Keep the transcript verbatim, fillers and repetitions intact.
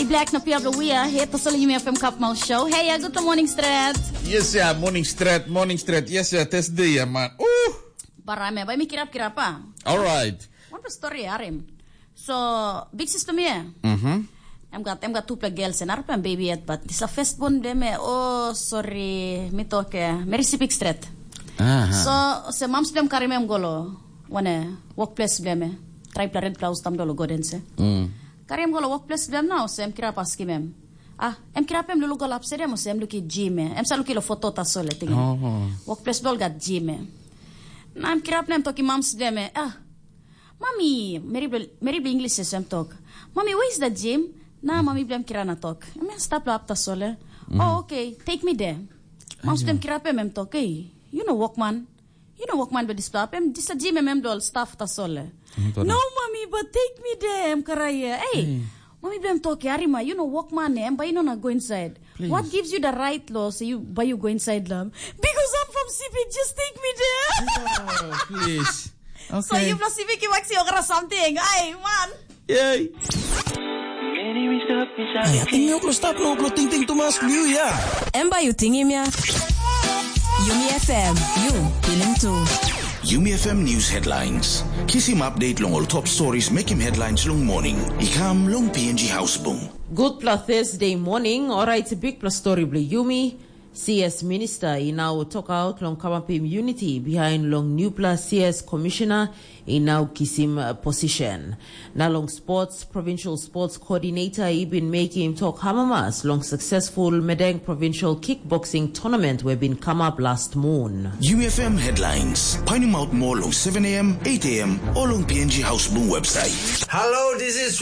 Black na pia blue we are here to sell you me from Cup Mouth Show. Hey, yeah, good morning, Strat. Yes, yeah, morning, Strat, morning, Strat. Yes, yeah, test day, yeah, man. Uh, Barame, bai mi kirap kirap ah. All right. One story arim. So, big sister me. Mm-hmm. Em gat em gat tupela girls en arapela em baby yet, but this a first born dem eh, oh sorry, mi toke, meri sipik stret. Aha. So, se mams dem karim em golo, wane, workplace blem eh. Tripla red blouse tam dolo godense. Mm. Karim golo workplace blem now, se em kirap askim em. Ah, em kirap em lulu gol upside em, se em luki gym eh. Em sa luki lo foto tasol eh, tingin. Oh. Workplace dol gat gym eh. Na em kirap nem toki mams blem eh. Ah, Mami, meri bilong English sem tok. Mami, where is the gym? Na mami bilong kirana tok. Em stap lo apta sole. Oh, okay, take me there. Mams dem kirapem em tok, hey, you know workman. You know workman be dispela em disa gym em em dol staff ta sole. No, mami, but take me there, em karaye. Hey, mami bilong tok, Arima, you know workman, em by you know na go inside. What gives you the right law so you by you go inside love? Because I'm from Sipik, just take me there. Please. So you plus Sipik, you actually okra something. Ay, man. Yay. Ai, ating yuk lo stap lo lo ting ting tumas liu ya. Em bai yu tingim ya. Yumi F M, yu pilim tu. Yumi F M News Headlines. Kisim update long ol top stories mekim headlines long morning. I kam long P N G Housebung. Gutpela Thursday morning, orait bikpela story bilong yumi. C S Minister i nau tokaut long kamapim unity behind long newpela C S Commissioner i nau kisim uh, position. Na long sports, Provincial Sports Coordinator i bin mekim tok hamamas long successful Medeng Provincial Kickboxing Tournament we bin come up last moon. U F M Headlines. Painim out more long seven a m, eight a m, or long P N G Housebung website. Hello, this is